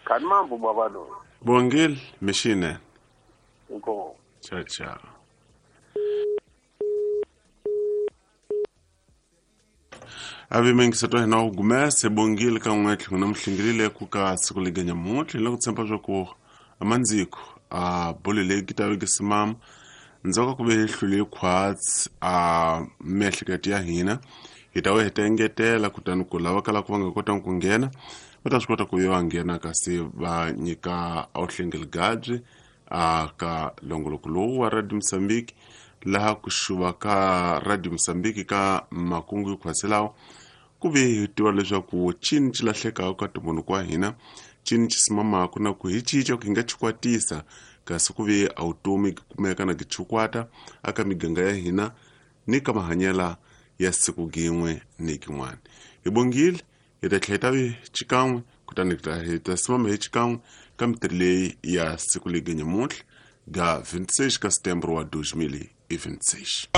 Kani mambo baba loyi. Bongile mixinene. Inkomu. Ciao ciao. Avi mengisato hina wu gumese bongile ka n'we tlhelo na muhlingilile ku ka siku lega nyamuntlha hi la ku tshemba swa ku amandziko a bolo leyi ki ta vekisa mama ndzhaku ka ku ve hi hlule khwatsi a miehleketo ya hina hi ta va hi ta engetela kutani ku lava kalaka va nga kotanga ku nghena va ta swi kota ku va nghena kasi va nyika awuhlengeli a ka longoloko lowu wa Radio Mozambique laha ku xuva ka Radio Mozambique ka makungu yo khwaselawo ku ve hi tiva leswaku cini ci lahlekaka ka ntumbuluko wa hina cini ci simamaka na ku hi cinca ku hi nga chikwatisa kasi ku ve a vutomi kumeka na kichikwata aka miganga ya hina ni ka mahanyela ya siku gin'we ni kin'wana hi bongile hi ta tlhela hi ta vi xikan'we kutani hi ta simama hi xikan'we ka mitirho leyi ya siku legi nyamuntlha ga 26 ka setembro wa 2026.